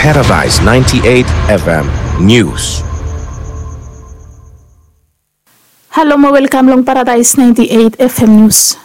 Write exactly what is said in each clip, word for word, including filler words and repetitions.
Paradise ninety-eight F M News. Halo mo welkam long Paradise ninety-eight F M News.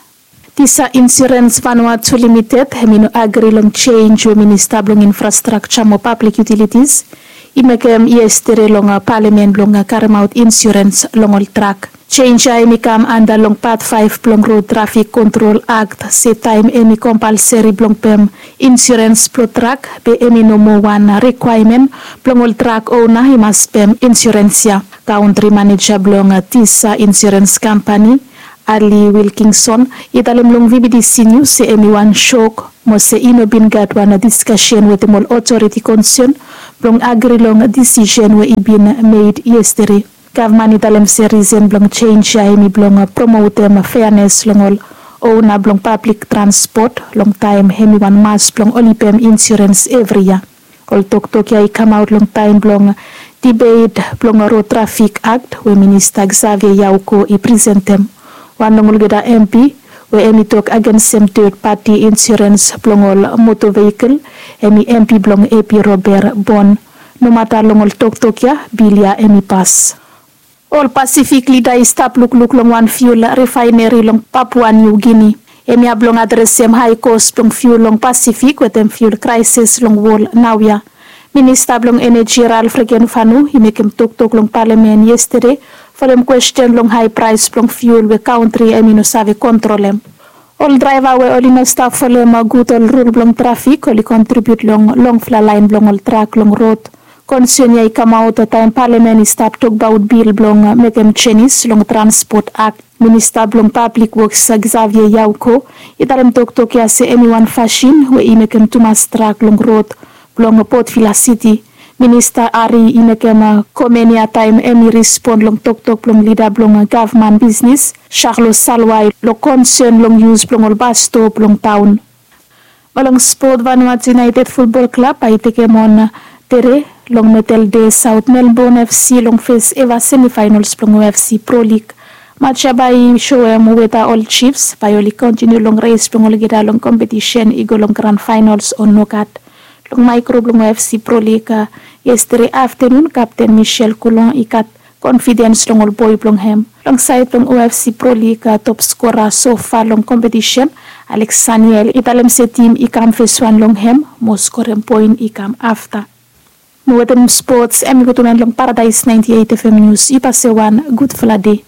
Tisa Insurance Vanuatu Limited hemi no agri long chenj we Minista blong Infrastrakja mo Pablik Utilitis i mekem yestede long palamen blong karemaot insurens long ol trak. Chenj ya hemi kam anda long pat faef blong Rod Trafik Kontrol Akt se taem hemi kompalseri blong pem insurens blong trak be hemi no moa wan rikwaemen blong ol trak ona i mas pem insurens ya. Kaontri maneja blong Tisa Insurens Kampani, Ali Wilkinson, i talem long V B T C Nius se hemi wan sok mo se i no bin gat wan diskasen wetem ol otoriti konsen blong agri long disisen we i bin med yestede. Gavman i talem se risen blong chenj ya hemi blong promotem feanes long ol ona blong pablik transpot long taem hemi wan mas blong oli pem insurens evri yia. Ol toktok ya i kamaot long taem blong dibet blong Rod Trafik Akt we Minista Xavier Yauko i presentem. Wan long olgeta M P we hemi tok agensem ted pati insurens blong ol moto veikol hemi M P blong A P Robert Bon. Nomata long ol toktok ya, bil ya hemi pas. Ol Pasifik lida i stap lukluk long wan fiul rifaeneri long Papua Niu Gini. Hemia blong adresem hae kos blong fiul long Pasifik wetem fiul kraesis long wol naoia. Minista blong Eneji Ralph Regenvanu i mekem toktok long palamen yestede folem kwesten long hae praes blong fiul we kaontri hemi no save kontrolem. Ol draeva we oli no stap folem gud ol rul blong trafik oli kontribiut long longfala laen blong ol trak long rod. Konsen ya i kamaot taem palamen i stap tokbaot bil blong mekem jenis long Transpot Akt. Minista blong Pablik Woks Xavier Yauko i talem toktok ya se hemi wan fasin we i mekem tumas trak long rod blong Port Vila Siti. Minista Ari i mekem komen ya taem hemi respon long toktok blong lida blong gavman bisnis, Charlo Salwai, long konsen long yus blong ol basto blong taon. Mo long spot, Vanuatu United Futbol Klab bae i tekem on tede long Medal Dei Saot Melbon F C long fes eva semifaenols blong U F C Pro Lig. Maj ya bae i soem weta ol Chiefs bae oli kontiniu long res blong olgeta long kompetisen i go long gran faenols o nogat. Long maekro blong U F C Pro Lig yestede aftenun, kapten Michel Coulon i gat konfidens long ol boe blong hem. Long saed blong U F C Pro Lig, top skora sofa long kompetisen, Alex Saniel, i talem se tim i kam feswan long hem mo skorem poen i kam afta. Mo wetem spots, hemi gud tumen long Paradise ninety-eight F M Nius. Yu pase wan gudfala dei.